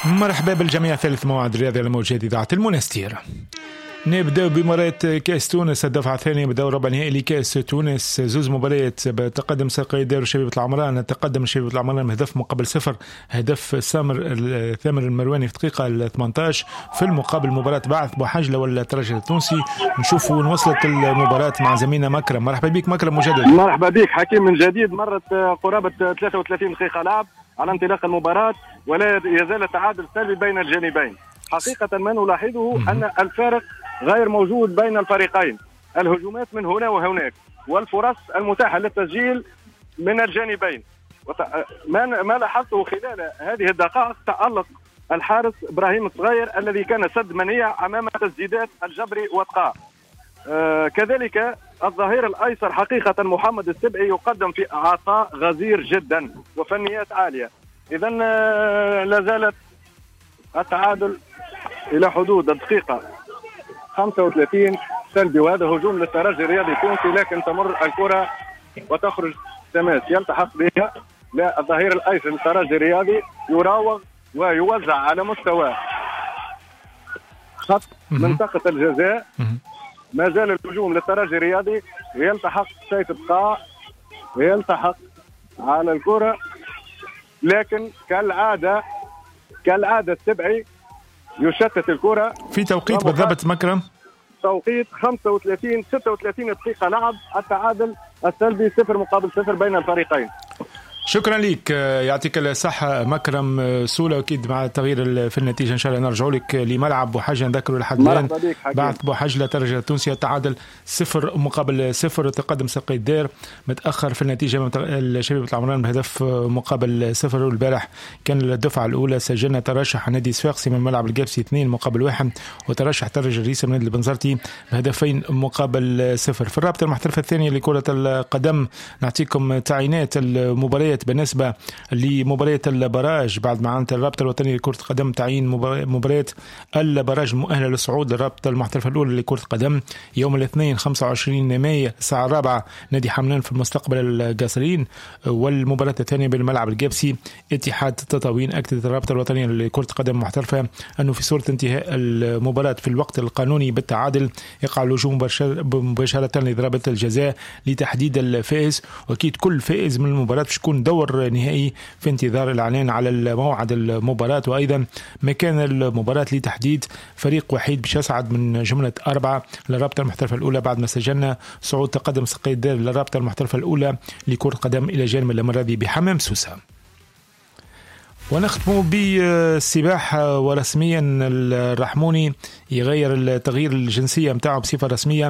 مرحبا بالجميع، ثالث موعد رياضي على موجات اذاعة المنستير. نبدأ بمباراة كأس تونس، الدفعة الثانية بدور ربع نهائي لكأس تونس. زوز مباريات بتقدم ساقية دار شبيبة العمران. تقدم شبيبة العمران بهدف مقابل صفر، هدف سامر ثامر المرواني في الدقيقة ال 18. في المقابل مباراة بعث بوحجلة والترجي التونسي، نشوفوا وين وصلت المباراة مع زميلنا مكرم. مرحبا بك مكرم مجددا. مرحبا بك حكيم من جديد. مرت قرابة 33 دقيقة لعب على انطلاق المباراة ولا يزال التعادل سلبي بين الجانبين. حقيقة ما نلاحظه أن الفارق غير موجود بين الفريقين، الهجومات من هنا وهناك والفرص المتاحة للتسجيل من الجانبين. ما لاحظته خلال هذه الدقائق تألق الحارس إبراهيم الصغير الذي كان سد منيع أمام تسديدات الجبري وتقاع. كذلك الظهير الأيسر حقيقة محمد السبعي يقدم في عطاء غزير جدا وفنيات عالية. إذا لا زالت التعادل إلى حدود الدقيقة 35 سلبي، وهذا هجوم للترجي الرياضي التونسي، لكن تمر الكرة وتخرج تماس يلتحق بها لا الظهير الأيسر للترجي الرياضي، يراوغ ويوزع على مستوى خط منطقة الجزاء. ما زال الهجوم للترجي الرياضي، يلتحق سيف بقاع ويلتحق على الكرة، لكن كالعادة السبعي يشتت الكرة. في توقيت بالضبط مكرم؟ توقيت 35 36 دقيقة لعب، التعادل السلبي 0-0 بين الفريقين. شكرا لك، يعطيك الصحة مكرم سولة. أكيد مع التغيير في النتيجة إن شاء الله نرجع لك لملعب بوحجلة. نذكروا لحد الآن بعد بوحجلة ترجي التونسي تعادل 0-0، تقدم ساقية الدار متأخر في النتيجة شبيبة العمران بهدف مقابل 0. والبارح كان الدفعة الأولى سجلنا ترشح نادي صفاقسي من ملعب القابسي 2-1، وترشح ترجي الريسة من نادي البنزرتي ب2-0. في الرابطة المحترفة الثانية لكرة القدم نعطيكم تعيينات المباريات بالنسبة لمباريات البراج. بعد ما عانت الرابطة الوطنية لكرة القدم تعيين مباريات البراج المؤهلة للصعود للرابطة المحترفة الأولى لكرة القدم يوم الاثنين 25 مايو الساعة 4 نادي حملان في المستقبل القصرين، والمباراة الثانية بالملعب القابسي اتحاد تطاوين. أكدت الرابطة الوطنية لكرة القدم المحترفة أنه في صورة انتهاء المباراة في الوقت القانوني بالتعادل يقع اللجوء مباشرة لضربة الجزاء لتحديد الفائز، وأكيد كل فائز من المباراة باش يكون دور نهائي في انتظار الإعلان على موعد المباراة وأيضا مكان المباراة لتحديد فريق وحيد باش يصعد من جملة 4 للرابطة المحترفة الأولى، بعد ما سجلنا صعود تقدم ساقية الدار للرابطة المحترفة الأولى لكرة القدم إلى جانب الأمراضي بحمام سوسة. ونختم بالسباحة، ورسميا الرحموني يغير التغيير الجنسية متاعه بصفة رسمية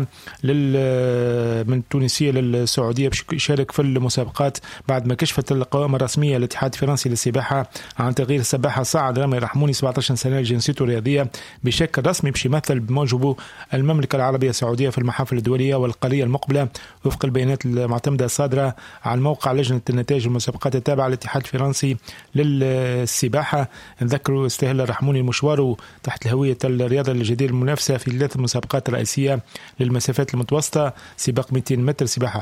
من التونسية للسعودية باش يشارك في المسابقات، بعد ما كشفت القوائم الرسمية للاتحاد الفرنسي للسباحة عن تغيير السباحة صعد رامي الرحموني 17 سنة جنسيته الرياضية بشكل رسمي باش يمثل بموجبه المملكة العربية السعودية في المحافل الدولية والقارية المقبلة، وفق البيانات المعتمدة الصادرة عن موقع لجنة النتائج المسابقات التابعة للاتحاد الفرنسي للسباحة. نذكروا استهل الرحموني مشواره تحت الهوية الرياضة الجدير المنافسة في 3 مسابقات رئيسية للمسافات المتوسطة، سباق 200 متر سباحة